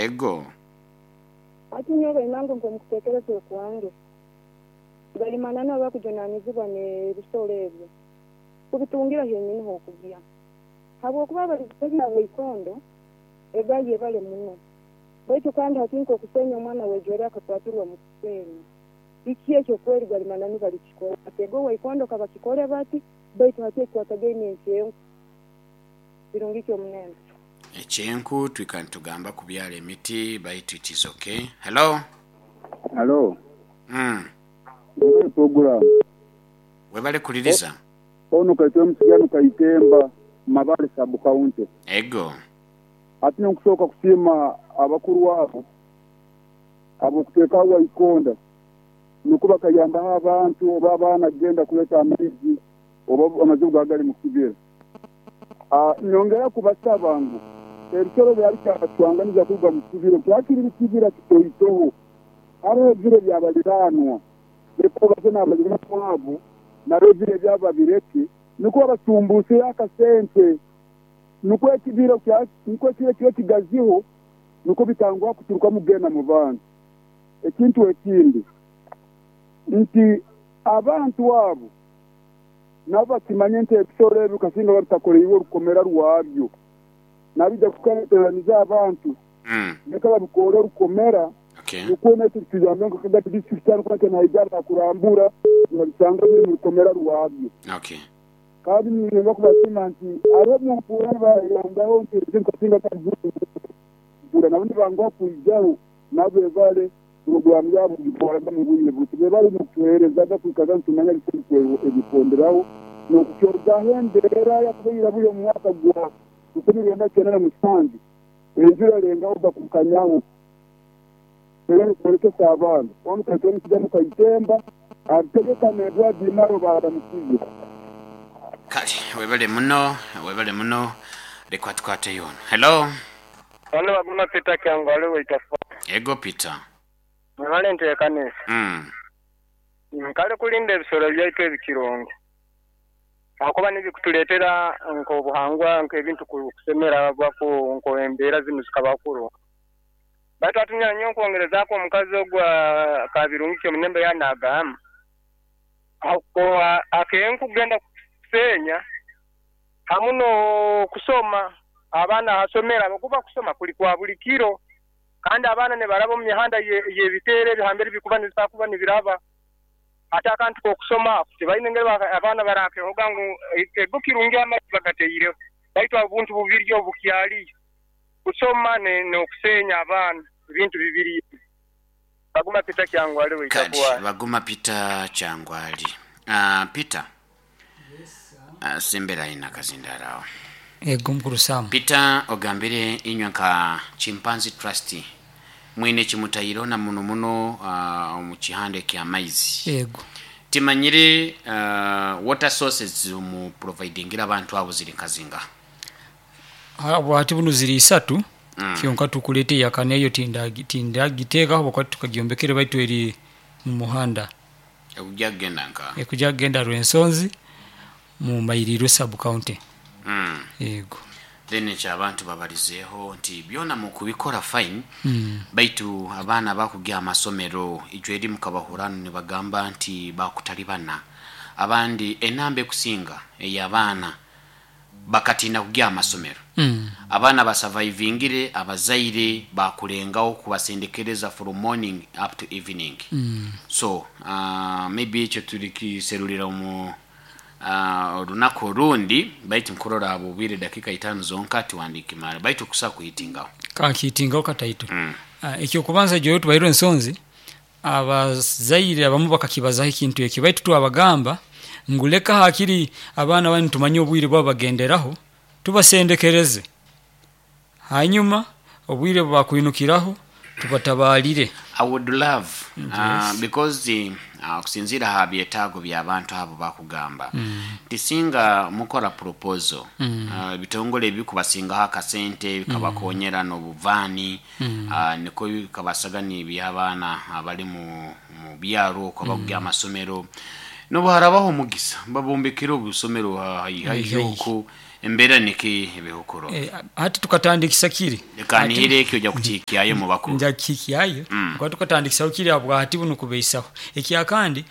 Ego. Hati nyowe bainange nk'omukutekereza okwange, gali mananu abakujunanizibwa n'ebisoro ebyo kubitungira henyini h'okugya. Habwokuba abalizi na waikondo egaye ebale muno. Baitu kandi hati nk'okusenya omwana w'ejweri akakwatirwa mu kusenya. Kiki ekyo kweri gali mananu balikikora. Ego waikondo kabakikore bati, baitu hati ekikwatagaine nk'enku. Kirungi ki omunembe? Ekyenku twikara nitugamba kubyara emiti baitu it is ok. Hello. Halo. Webale program. Webale kuliriza. Ono Kaitwe Musigano Kaitemba, Mabale Sub County. Ego. Ati nonkusooka kusiima abakuru abo ab'okuteekaho Waikonda nukwo bakayambaho abantu oba abaana kugenda kuleeta amaizi oba amazibu gaba gali mu kibira. Nyongera kubasaba ngu ebisoro byaba bikyabacwanganiza kuruga mu kibira kyakiri bikibira kitoitoho. Haroho ebiro ebyabaliraanwa leka obaze n'abaliraanwa abo nabo ebiro ebyabo babireke nukwo babasumbuuseyo akasente nukwo ekibira nukwo ekiro kibe kigaziho nukwo bitanguha kuturukamu kugenda mu bantu. Ekintu ekindi nti abantu abo nabo bakimanye nti ebisoro ebyo kasinga babitakoreirwe orukomera rwabyo nabija kuteraniza abantu leka babikoore orukomera nukwo naitwe bituyambe nka Kagadi district hanu kuba naija bakurambura nibabisanga biri mu rukomera rwabyo. Kandi niinyenda kubasiima nti hariho obu nibayambaho nti ebizibu kasinga mpura nabo nibanguha kwijaho nabo bebale puroguraamu yaabo kugikoraga mu bwire buti. Bebale n'okutuheerezaga kwikaza nitumanya biki ebikonderaho n'okukyozaho embeera yakubaire buri omu mwaka gwa 1997 enjura erengaho gakukanyaho era n'okworekesa abaana. Onu Kaitwa Musigano Kaitemba arutegeka na Edward Imaro baaramukize. Kale webale muno, webale muno. Leka tukwateyo ono. Hello. Ono Baguma Peter Kyangwali Waitafa. Ego Peter. Mwebale enteekaniza. Kale kulinda ebisolo byaitu ebikirongo ahakuba nibikutuleetera nk'obuhangwa nk'ebintu kusemeragwaku nk'embeera zinu zikabaho kurungi. Baitu hati nyowe nkwongerezaaku omukazi ogu Kabirungi Kyomunembe yaaba naagamba, akenku kugenda kuseenya hamu n'okusoma abaana ha somero ahabw'okuba kusoma kuli kwa buli kiro kandi abaana nibaraba omu mihanda y'ebiteero ebi hambere bikuba nibisobora kuba nibiraba. Hati akantu k'okusoma ako tibaine engeri abaana barakehoga ngu ego kirungi amaizi bagataireho baitu obuntu bubiri obu bukyaliyo, kusoma n'okuseenya abaana ebintu bibiri ebi. Baguma Peter Kyangwali Kale Waitakuwali. Baguma Peter Kyangwali. Peter, sembera aye nakazindaalo agho. Ego mukulu Sam. Peter, ogambire inywe nka Chimpanzee Trust mwine kimutaireho na muno muno omu kihanda eky'amaizi. Ego. Timanyire water sources mu providingira abantu abo ziri nka zingaha? Habwati bunu ziri isatu kyonka tukuleeta eyakana eyo tindagiteekaho habwokuba titukagyombekere baitu eri mu muhanda. Ekugya kugenda nka? Ekugya kugenda Rwensonzi mu Mairirwe Sub County. Yego. Then ekyo abantu babalizeeho nti byona mukubikora fine baitu abaana abakugya amasomero ijo eri mukabahuranu nibagamba nti bakutalibana abandi enamba ekusinga eyabaana bakatiina kugya amasomero. Abaana basurvivingire abazaire bakulengaho kubasendekereza from morning up to evening. So maybe ekyo tulikiserulira omu olunaku olundi baitu nkurora habw'obwire dakika itaanu zonka tiwandikimara baitu kusa kuhitingaho. Kankihitingaho kataito. Eky'okubanza ijo tubairwe ensonzi, abazaire abamu bakakibazaho ekintu ekyo baitu twabagamba ngu leka hakiri abaana banu tumanye obwire bwabo bagenderaho tubasendekereze hanyuma obwire bwebakwinukiraho tubatabalire. I would love because okusinziira aha byetaago by'abantu abo bakugamba nti singa mukora proposal ebitongole ebikubasingaho akasente bikabakonyera n'obuvaani nikwo bikabasaga nibiha abaana abali mu byaro okwo abakugya aha masomero n'obu harabaho omugisa babombekere obusomero haihi okwo. Embeera niki ebihukuro? Hati tukatandikisa kiri. Leka nihire ekyo ojja kukihikyayo mu bakuru. Nja kukihikyayo. Kuba tukatandikisa kiri habwahati bunu kubeisaho. Ekyakandi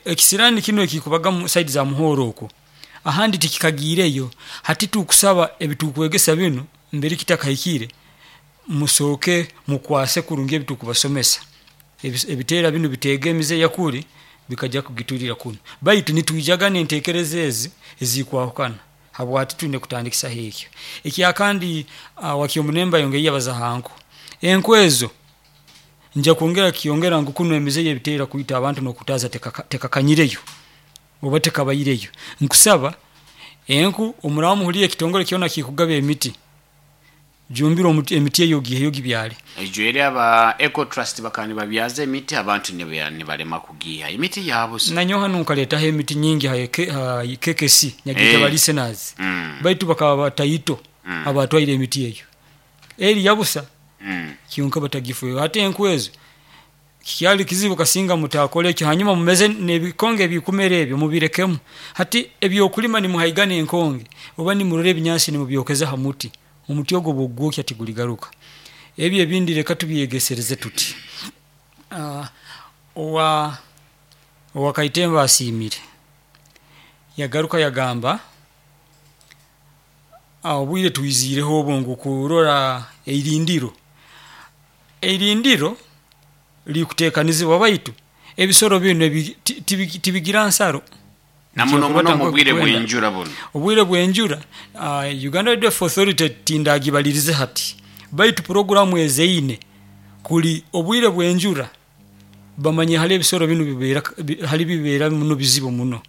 ekisirani kinu ekikubaga mu saidi za Muhoro okwo ahandi tikikagiireyo. Hati tukusaba ebitukwegesa binu mbere kitakahikire musooke mukwase kurungi ebitukubasomesa. Ebiteera binu biteega emize yakuri bikajja kugiturira kunu, baitu nitwijaga n'entekereza ezi ezikwahukana habwati twine kutandikisaho ekyo. Ekyakandi Wakyomunemba yongeiyo yabaza ha nku. Enku ezo nja kwongera kyongera ngu kunu emize y'ebiteera kwita abantu n'okutaaza tekakanyireyo oba tekabaireyo. Nkusaba enku omuraba muhuliire ekitongole kyona kikugaba emiti, jumbira emiti eyo ogiiheyo ogibyale. Ejweri aba Eco Trust bakaba nibabyaza emiti abantu nibalema kugiiha emiti yabusa. Nanyowe hanu nkaletaho emiti nyingi ha KKC Nyagitaba listeners, baitu bakaba bataito abatwaire emiti eyo. Eri yabusa kyonka batagifeeho. Hati enku ezo kikyali kizibu kasinga mutakora ekyo, hanyuma mumeze n'ebikonge ebikumera ebyo mubirekemu. Hati ebyokulima nimuhaigana enkonge oba nimurora ebinyansi nimubyokeza ha muti, omuti ogwo obwokugwokya tiguligaruka. Ebyo ebindi leka tubyegesereze tuti. Owa Kaitemba asiimire yagaruka yagamba obwire twiziireho obu ngu kurora eirindiro. Eirindiro likutekanizibwa baitu ebisoro binu tibigira nsaro. Na muno muno mu bwire bw'enjura bunu. Obwire bw'enjura, Uganda Wildlife Authority tindagibalirize hati, baitu puroguramu ezeine kuli obwire bw'enjura bamanye hali ebisoro binu hali bibeera muno bizibu muno.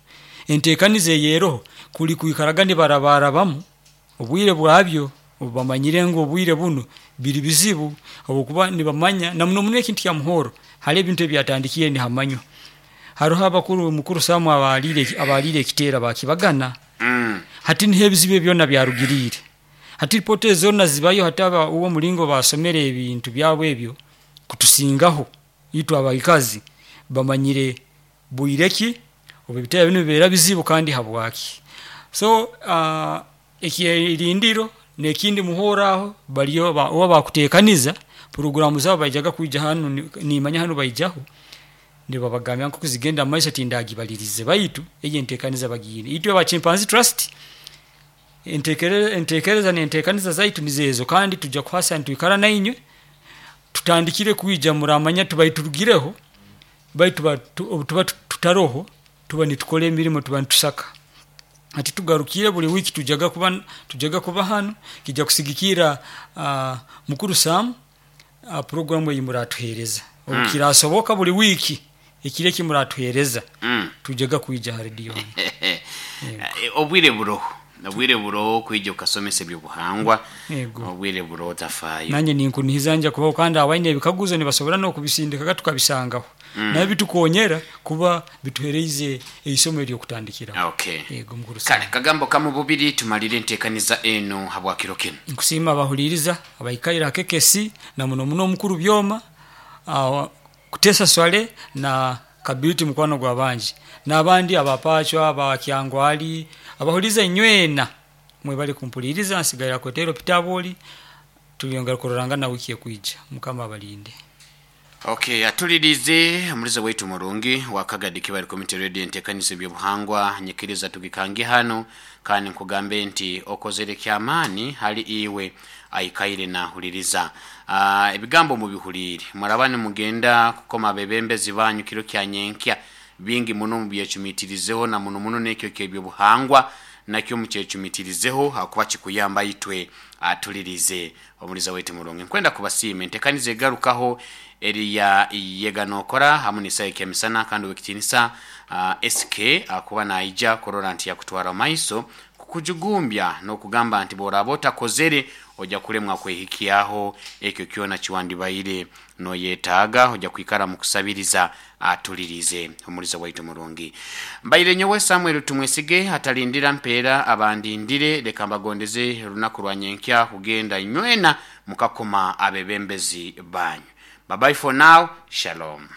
Entekaniza eyeroho kuli kwikaraga nibarabarabamu obwire bwabyo obubamanyire ngu obwire bunu biri bizibu, habwokuba nibamanya na muno muno ekintu kya Muhoro hali ebintu ebyatandikiire nihamanywa. Haroho abakuru, mukuru Sam abaliire ekiteera bakibagana. Hati niho ebizibu ebi byona byarugiriire. Hati ripooti ezo zoona zibayo hati uwe omulingo basomere ebintu byabo ebyo kutusingaho itwe abaikazi bamanyire bwire ki obu ebiteera binu bibeera bizibu kandi habwaki. So ekyerindiro nekindi Muhoro aho bariyo oba bakutekaniza puroguramu zaabo baijaga kwija hanu, nimanya hanu baijaho nibabagambira nkoku zigenda mumaiso tindagibalirize baitu eyo entekaniza bagiine. Itwe aba Chimpanzee Trust entekereza nentekaniza zaitu nizo ezo kandi tujja kuhasa nitwikara nainywe, tutandikire kwija muramanya tubaire turugireho baitu obutuba tutaroho tuba nitukora emirimo tuba nitusaka. Hati tugarukire buri wiiki tujaga kuba hanu kija kusigikira mukuru Sam puroguramu eyi muratuhereza. Obukirasoboka buri wiiki ekiro eki muratuhereza tujaga kwija ha rediyo hanu. Obwire buroho, obwire buroho kwija okasomesa ebyobuhangwa, obwire buroho otafaayo. Nanye ninkunihiza nja kubaho kandi abaine ebikaguzo nibasobora n'okubisindikaga tukabisangaho. Nabyo bitukonyera kuba bituhereize eisomo ery'okutandikiraho. Okay. Yego mukuru Sam. Kale kagambo kamu bubiri tumalire entekaniza enu habwa kiro kinu. Nkusiima abahuliriza abaikaire ha KKC na muno muno omukuru Byoma, Kutesa Swale na Kabiriti mukwano gwa bangi n'abandi abapachwa aba Kyangwali abahuliriza inywena mwebale kumpuliriza. Nsigaire Kwetero Peter tuliyongera kurorangana wiki ekwija. Mukama abalinde. Okay, atulirize omulizo waitu murungi wa Kagadi Kibali Community Radio entekaniza ebyobuhangwa nyikiriza tugikange hano kandi nkugambe nti okozere kyamaani hali iwe aikaire nahuliriza. Ebigambo mubihulire muraba nimugenda kukoma abebembezi banyu kiro kya nyenkya bingi muno mubyecumitirizeho na muno muno nekyo kyebyobuhangwa nakyo mukyecumitirizeho hakuba kikuyamba itwe atulirize omuliza waitu murungi. Nkwenda kubasiima entekaniza egarukaho eriya yega nokora hamu nisaha ekyamisana kandi owekitinisa SK akuba naija kurora nti yakutwara maiso kukujugumbya n'okugamba nti bworaba otakozere ojja kulemwa kwehikyaho ekyo kyona kiwandibaire noyetaaga ojja kwikara mukusabiriza atulirize omuliza waitu murungi. Mbaire nyowe Samuel Tumwesige atalindira mpeera abandindire leka mbagondeze olunaku lwa nyenkya kugenda nywena mukakoma abebembezi banyu. Bye bye for now. Shalom.